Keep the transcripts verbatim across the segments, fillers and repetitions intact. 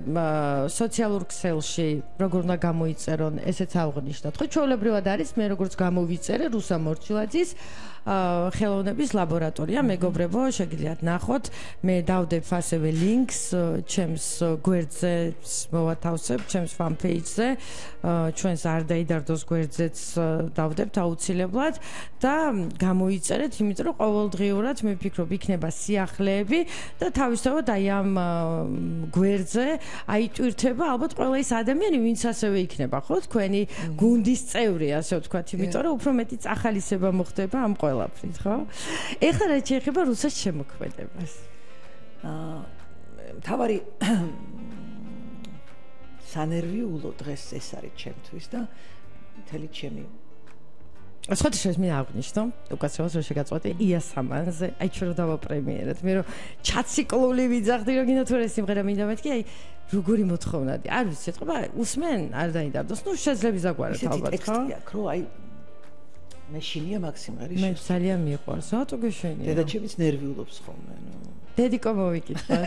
სოციალურ ქსელში როგორ უნდა გამოიწერონ, ესეც აღნიშნოთ. ხო, ჩვეულებრივად არის მე როგორც გამოვიწერე რუსა მორჩილაძის ხელოვნების ლაბორატორია, მეგობრებო, შეგიძლიათ ნახოთ. მე დავდებ ასევე ლინკს ჩემს გვერდზე მოვათავსებ, ჩემს fan page-ზე, ჩვენს არ დაიდარდოს გვერდზეც დავდებთ აუცილებლად და გამოიწერეთ, იმიტომ რომ ყოველდღიურად მე ვფიქრობ იქნება სიახლეები და თავისთავად აი ამ გვერდზე აიტვირთება ალბათ ყველა ის ადამიანი, ვინც ასევე იქნება, ხო, თქვენი გუნდის წევრი, ასე ვთქვათ, იმიტომ რომ უფრო მეტი წახალისება მოხდება ამ ყველაფრით, ხო? ეხლა რა შეეხება რუსას შემოქმედებას? აა თავარი სანერვიულო დღეს ეს არის ჩემთვის და მთელი ჩემი Ასხოთ შეიძლება მე აღნიშნო, უკაცრავად რომ შეგაწყვეტე იასამანზე, აი ჩვენ რომ დავაპრემიერეთ, მე რომ ჩაციკლული ვიძახდი რომ გინდა თუ რა სიმღერა მინდა მეთქი, აი როგორი მოთხოვნადი. არ ვიცი, ეთქობა, უსმენ, არ დაიდარდოს. ნუ შეძლებს დაგვარად ალბათ, ხო? ტექსტი აქვს, რო აი მე შინია მაგ სიმღერის მე ძალიან მიყვარს, რატო გეშენია? დედაჩემიც ნერვიულობს ხოლმე, ნუ. დედიკო მოვიკითხოთ.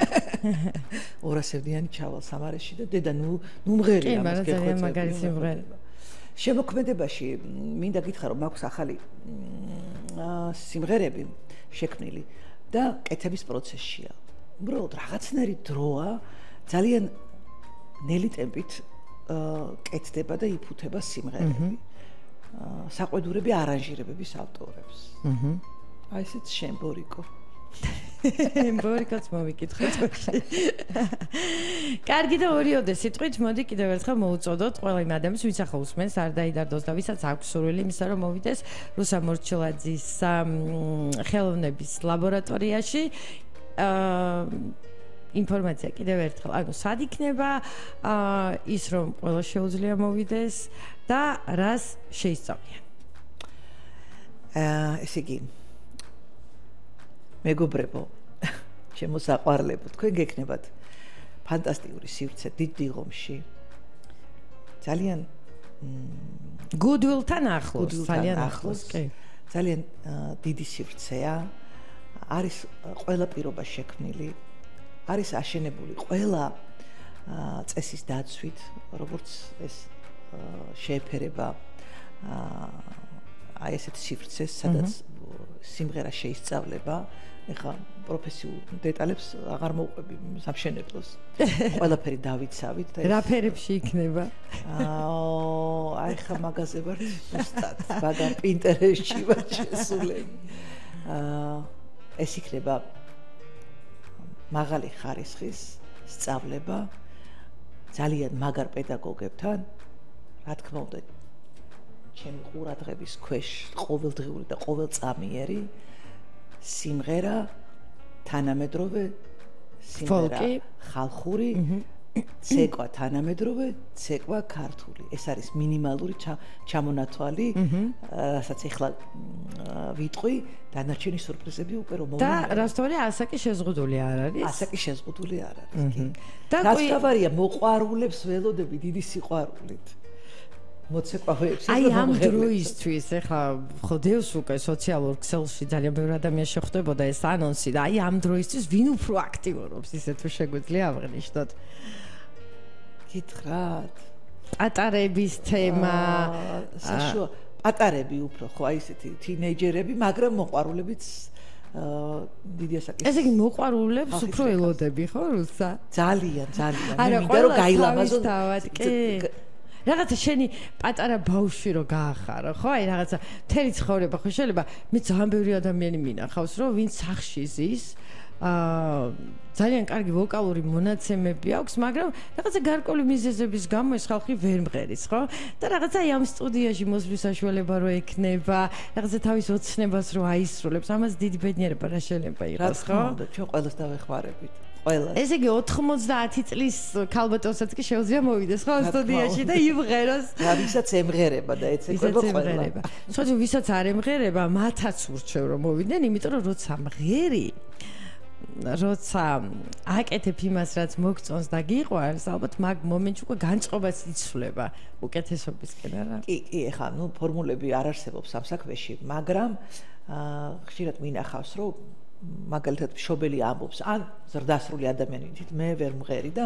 ორასევდიანი ჩავალ სამარეში და დედა ნუ ნუ მღერია მას გეხვეწები. კი, მაგრამ ძალიან მაგარი სიმღერა. შემოქმედებაში მინდა გითხრა რომ მაქვს ახალი სიმღერები შექმნილი და კეთების პროცესშია. უბრალოდ რაღაცნაირი დროა ძალიან ნელი ტემპით კეთდება და იფუთება სიმღერები. საყვედურები არანჟირებების ავტორებს. აი ესეც შენ ბორიკო. ბორიკოც მოვიკითხოთ. კარგი და ორიოდე სიტყვით მოდი კიდევ ერთხელ მოუწოდოთ ყველა იმ ადამიანს, ვინც ახლა უსმენს, არ დაიდარდოს და ვისაც აქვს სურვილი იმისა, რომ მოვიდეს რუსა მორჩილაძის ხელოვნების ლაბორატორიაში. აა ინფორმაცია კიდევ ერთხელ, ანუ სად იქნება ის რომ ყველა შეუძლია მოვიდეს და რას შეისწავლიან. აა ესე იგი მეგობრებო, ჩემო საყვარლებო, თქვენ გექნებათ ფანტასტიკური სივრცე დიდ დიღომში. ძალიან გუდვილთან ახლოს, ძალიან ახლოს, კი. ძალიან დიდი სივრცეა. არის ყველა პირობა შექმნილი. არის აშენებული ყველა წესის დაცვით, როგორც ეს შეეფერება აი ესეთ სივრცეს, სადაც სიმღერა შეისწავლება. ეხლა პროფესიულ დეტალებს აღარ მოვყვები სამშენებლოს. ყველაფერი დავიცავით და რა ფერებში იქნება? აა აი ხა მაგაზე ვარ ზუსტად, მაგა პინტერესტში ვარ შესულები. აა ეს იქნება მაღალი ხარისხის სწავლება ძალიან მაგარ პედაგოგებთან, რა თქმა უნდა, ჩემი ყურადღების ქვეშ ყოველდღიური და ყოველწამიერი სიმღერა, თანამედროვე სიმღერა, ხალხური, ცეკვა თანამედროვე, ცეკვა ქართული. ეს არის მინიმალური ჩამონათვალი, რასაც ეხლა ვიტყვი, დანარჩენი სურპრიზები უკვე რომ მოვლენ. და რასთავარია, ასაკი შეზღუდული არ არის? ასაკი შეზღუდული არ არის, კი. რასთავარია, მოყვარულებს ველოდები დიდი სიყვარულით. მოცეკვავეებს აი ამ დროისთვის ეხლა ხო დევს უკვე სოციალურ ქსელში ძალიან ბევრი ადამიანი შეხვდებოდა ეს ანონსი და აი ამ დროისთვის ვინ უფრო აქტიურობს ისე თუ შეგვიძლია აღნიშნოთ. გითხრათ პატარების თემა საშუალო პატარები უფრო ხო აი ესეთი თინეიჯერები, მაგრამ მოყვარულებიც დიდი ასაკის. ესე იგი მოყვარულებს უფრო ელოდები ხო რუსა? ძალიან, ძალიან. მე მინდა რომ გაილამაზო. კი. რაღაცა შენი პატარა ბავშვი რო გაახარო, ხო? აი რაღაცა მთელი ცხოვრება ხო შეიძლება მე ძალიან ბევრი ადამიანი მინახავს, რომ ვინც სახში ზის, აა ძალიან კარგი ვოკალური მონაცემები აქვს, მაგრამ რაღაცა გარკვეული მიზეზების გამო ეს ხალხი ვერ მღერის, ხო? და რაღაცა აი ამ სტუდიაში მოსვლის საშუალება რო ექნება, რაღაცა თავის ოცნებას რო აისრულებს, ამას დიდი ბედნიერება რა შეიძლება იყოს, ხო? რა თქმა უნდა, ჩვენ ყველას დავეხმარებით. ყველა. ესე იგი ოცდაათი წლის ქალბატონსაც კი შეუძლია მოვიდეს ხო სტუდიაში და იმღეროს. და ვისაც ემღერება და ეცეკვება ყველა. სხვა ვისაც არ ემღერება, მათაც ურჩევ რომ მოვიდნენ, იმიტომ რომ როცა მღერი, როცა აკეთებ იმას, რაც მოგწონს და გიყვარს, ალბათ მაგ მომენტში უკვე განწყობას იცვლება უკეთესობისკენ, არა? კი, კი, ეხლა ნუ ფორმულები არ არსებობს ამ საქმეში, მაგრამ ხშირად მინახავს, რომ მაგალითად მშობელი ამბობს, ან ზრდასრული ადამიანი, თით მე ვერ მღერი და